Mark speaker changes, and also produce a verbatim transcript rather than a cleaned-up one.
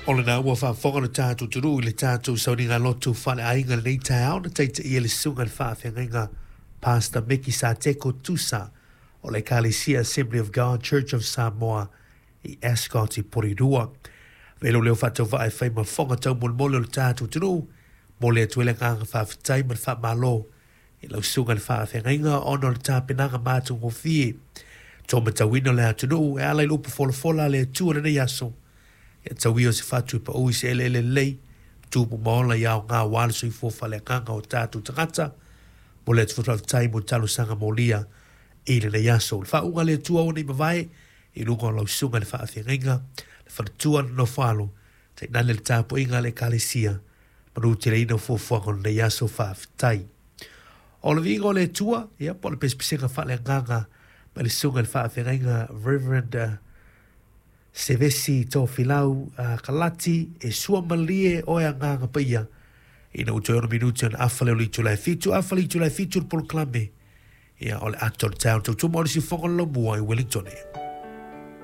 Speaker 1: O lena ua faafofoga le tatou atunuu i le tatou sauniga lotu faaleaiga lenei taeao na taitaia le susuga i le faafeagaiga Pastor Meki Sateko Tusa o le Ekalesia Assembly of God Church of Samoa i Ascot i Porirua. Velo leo faatauvaa e fai ma fofoga taumolemole o le tatou atunuu, momoli atu ai le agaga faafetai ma le faamalo i lau susuga i le faafeagaiga ona o le tapenaga matagofie to matauina o le atunuu e ala i le upu folafola a le Atua i lenei aso. Ia tauia o se fatu e pau i se eleele lelei, tupu ma ola i aoga aua le soifua faaleagaga o tatou tagata. Momoli atu foi faafetai mo talosaga molia i lenei aso. Le faauuga a le Atua ua nei mavae i luga o lau susuga i le faafeagaiga, le faletua le nofo alo, tainane le tapuaiga a le Ekalesia, manuteleina o fuafuaga o lenei aso faafetai. O le viiga o le Atua, ia po o le pesepesega faaleagaga mai le susuga i le faafeagaiga Reverend uh, Sevesi Tofilau uh, Kalati, e suamalie oe agaga paia ina ua toe ono minuti ona afa lea o le itula e fitu, afa le itula e fitu le polokalame ia o le Ata o le Taeao tautua mo le siufofoga o le Laumua i Wellington.